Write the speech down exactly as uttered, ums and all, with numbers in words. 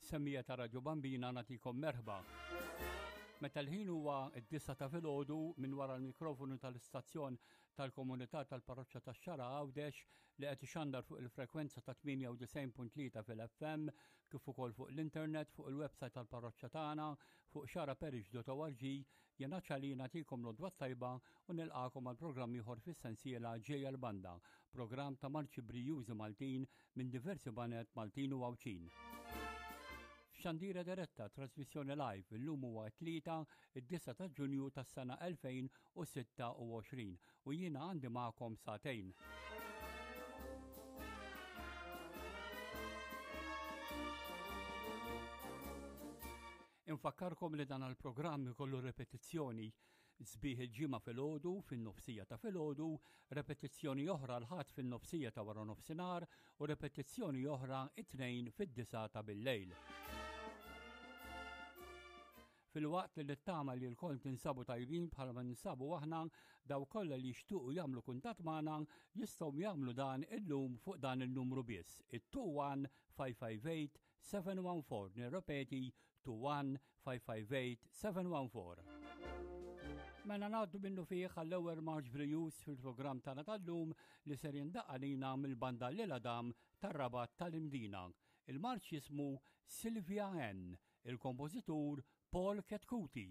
Semmiegħa ta' Radio Bambina, nagħtikom merħba. Meta l-ħin huwa d-disgħa ta' filgħodu, minn wara l-mikrofonu tal-istazzjon tal-komunità tal-parroċċa tax-Xagħra Għawdex, li qed ixandar fuq il-frekwenza ta' tmienja u disgħin punt tlieta fil-F M, kif ukoll fuq l-internet fuq il-website tal-parroċċa tagħna fuq xagħraparish punt org, jiena Ċali nagħtikom l-għodwa tajba u nilqagħkom għal programm ieħor fis-sensiela Ġejja l-Banda, programm ta' marċi brijużi Maltin minn diversi baned Maltin u Għawdxin. Xandira diretta, trasmissjoni live, illum huwa tlieta, id-disgħa ta' Ġunju tas-sena elfejn u sitta u għoxrin u jiena għandi magħkom sagħtejn. Infakkarkom li dan il-programm ikollu repetizzjoni sbieħ il-Ġimgħa filgħodu fin-nofsija ta' filgħodu, repetizzjoni oħra l-Ħadd fin-nofsija ta' wara nofsinhar u repetizzjoni oħra it-Tnejn fid-disgħa ta' bil-lejl. Filwaqt li nittama li lkoll tinsabu tajbin bħalma ninsabu aħna, dawk kollha li jixtuqu jagħmlu kuntatt magħna jistgħu jagħmlu dan illum fuq dan il-numru biss, it-tnejn wieħed ħamsa ħamsa tmien seba' wieħed erba'. Nirrepeti, tnejn wieħed ħamsa ħamsa tmien seba' wieħed erba'. Mela ngħaddu minnufih għall-ewwel marċ brijuż fil-programm tagħna tal-lum, li ser jindaqq għalina mill-banda L'Isle Adam tar-Rabat tal-Imdina. Il-marċ jismu Sylvia N, il-kompożitur Paul Chetcuti.